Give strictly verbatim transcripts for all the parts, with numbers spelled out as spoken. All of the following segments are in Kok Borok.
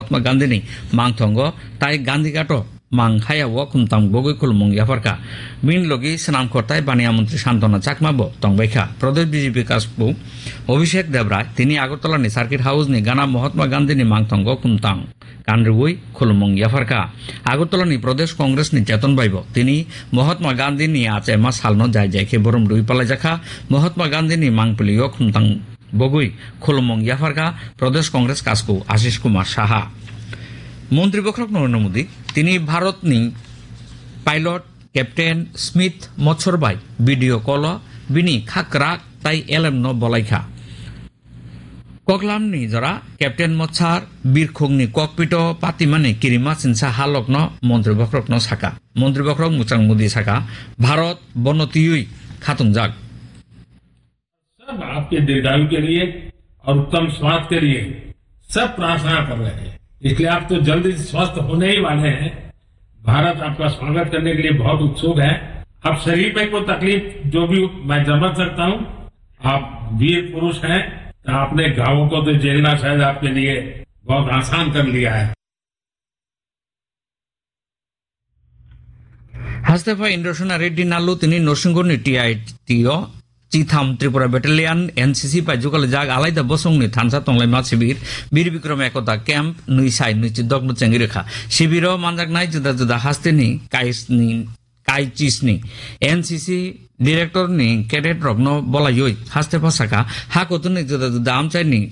Mahatma Gandhini mangthongo tai Gandhi Ghato mang haya o khumtang bogwi khulumung yapharkha. Bini logi swnamkhor tai baniya montri Santona Chakma bo tongbaikha. Pradesh B J P kasku Abhishek Debrai tini Agartala ni Circuit House ni gana Mahatma Gandhini mangthongo khumtang kanriwi khulumung yapharkha. Agartala ni Pradesh Congress ni Cheton bai bo tini Mahatma Gandhini achema salno jai jai khe borom rwi palaijakha. Mahatma Gandhini mangpili o khumtang bogwi khulumung yapharkha Pradesh Congress kasku Ashish Kumar Saha. Montri bokhorok Narendra Modi tini Bharat ni pilot Captain Smith Motshor bai video call o bini khakra tai elem no bolaikha. Koklam ni jora Captain Motshar birkhung ni cockpit o patimani kirima sinsa halok no montri bokhorok no saka. Montri bokhorok Muchang Modi saka, Bharat bono tiyui khatungjak. सब आपके दीर्घायु के लिए और उत्तम स्वास्थ्य के लिए सब प्रार्थना कर रहे हैं, इसलिए आप तो जल्दी स्वस्थ होने ही वाले हैं। भारत आपका स्वागत करने के लिए बहुत उत्सुक है। अब शरीर में कोई तकलीफ जो भी, मैं समझ सकता हूँ, आप वीर पुरुष हैं, तो आपने घावों को तो झेलना शायद आपके लिए बहुत आसान कर लिया है। Haste pha Indrasena Reddy Nallu tini Norsingurni T I T o Chitham Tripura Battalion N C C bai jugalijak alaida bosongni thansa tonglaima sibir Bir Bikram Ekota Camp nwi sai nwi chidokno chengwi rwkha. Sibiro manjaknai juda juda hasteni kaisni, kaichisni N C C director ni cadet rokno bolaiwi haste pha saka ha kuthumni juda juda amchaini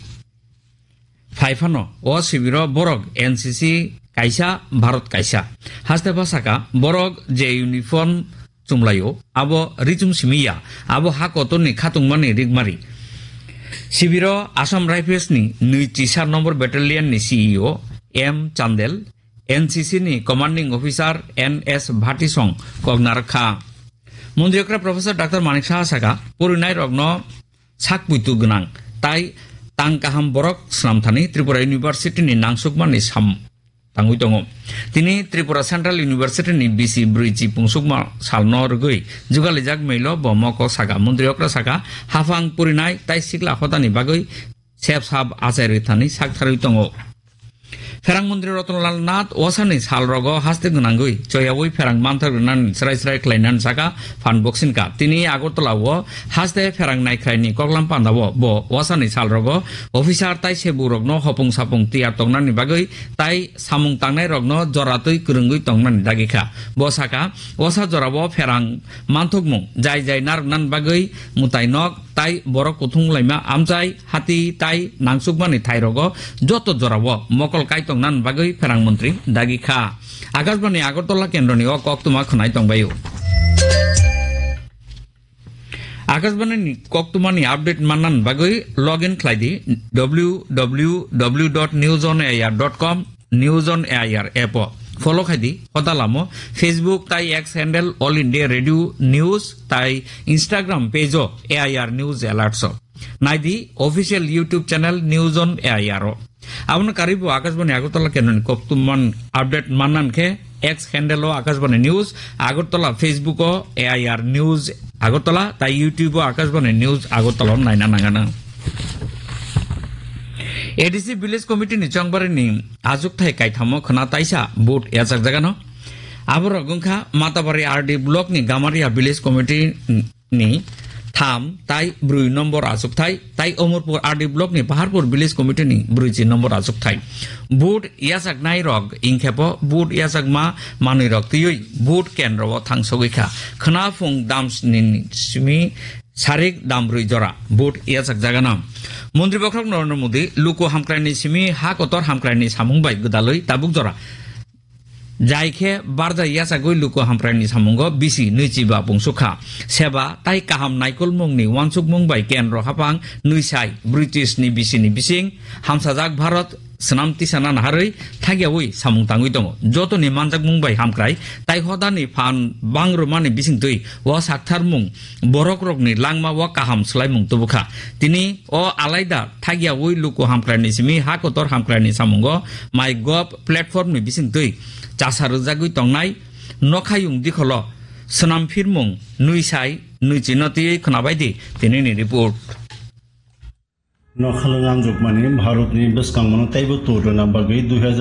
phai phano o sibiro borok N C C kaisa, Bharat kaisa. Haste pha saka, borok je uniform chumlaio, abo richum simi ya, abo ha kotorni khatungmani rigmari. Sibiro Assam Rifles ni nwi chisa number battalion ni C E O M Chandel, N C C ni commanding officer N S Bhatisong kok narwkha. Montri okra Professor Doctor Manik Saha saka, purinai rokno sak puitu gwnang tai tang kaham borok swnamthani Tripura University ni nangsukmani sam tangwi tongo. Tini Tripura Central University ni bisi brwichi pungsukma salno rwgwi jugalijak mailo bo moko saka, montri okra saka, haphang purinai tai sikla hotani bagwi sep sap achai rwthani sak tharwi tongo. Pherang montri Ratan Lal Nath wasani salrogo haste gwnangwi choyawi pherang manthar gwnani srai srai khlainani saka phan boksingka. Tini Agartala o haste pherang naikhraini koklam pandao bo wasani salrogo officer tai sebukrokno hopung sapung tiyar tongnani bagwi tai samung tangnairokno joratwi kwrwngwi tongnani dagikha. Bo saka, wasa jorao pherang manthokmung jai jai narwknani bagwi mwtai nok tai borok kuthung laima amchai hati tai nangsukmani thairogo joto jorao mokol kai tongnani bagwi pherang montri dagi kha. Akashbani Agartala kendroni o koktwma khwnai tongbaio. Akashbani ni koktwmani update mannani bagwi login khlai di W W W dot news on air dot com. News on A I R app o follow khai di, hoda lamo Facebook tai X handle All India Radio News tai Instagram page o A I R News Alerts o. Nai di official YouTube channel News on A I R o. Abono karwi bo Akashbani Agartala kendroni koktwma update mannan khe X handle o Akashbani News Agartala, Facebook o A I R News Agartala tai YouTube o Akashbani News Agartala o naina nangano. A D C Village Committee ni chongbarini achukthai kaithamo khwna taisa vote yachakjagano. Aborok wngkha Matabari R D Block ni Gamaria Village Committee ni tham tai brwi nombor achukthai, tai Omorpur R D Block ni Paharpur Village Committee ni brwichi nombor achukthai. Vote yachaknai rok ingkhepo vote yachakma manwi rok twiwi vote kendro o thangsogwi kha. Khwna phung damsni simi sarik dambrwi jora vote yachakjagano. Montri bokhorok Narendra Modi luku hamkraini simi ha kotor hamkraini samung bai gwdalwi tabuk jora jai khe barja yachagwi luku hamkraini samungo bisi nwichiba pungsukha. Seba tai kaham naikolmungni uansukmung bai kendro haphang nwisai British ni bisini bising hamsajak Bharat swnam tisana naharwi thagiyawi samung tangwi tongo. Jotoni manjakmung bai hamkrai tai hodani phan bangrumani bisingtwi o saktharmung borokrokni langma o kaham swlaimung tubukha. Tini o alaida thagiyawi luku hamkraini simi ha kotor hamkraini samungo MyGov platform ni bisingtwi chasa rwjagwi tongnai nokhayung dikholo swnam phirmung nwisai nwichino twiwi khwnabai di tinini report. Nokhalwng amjokmani Bharatni bwskangmano teibo tor rwna bagwi dui hajar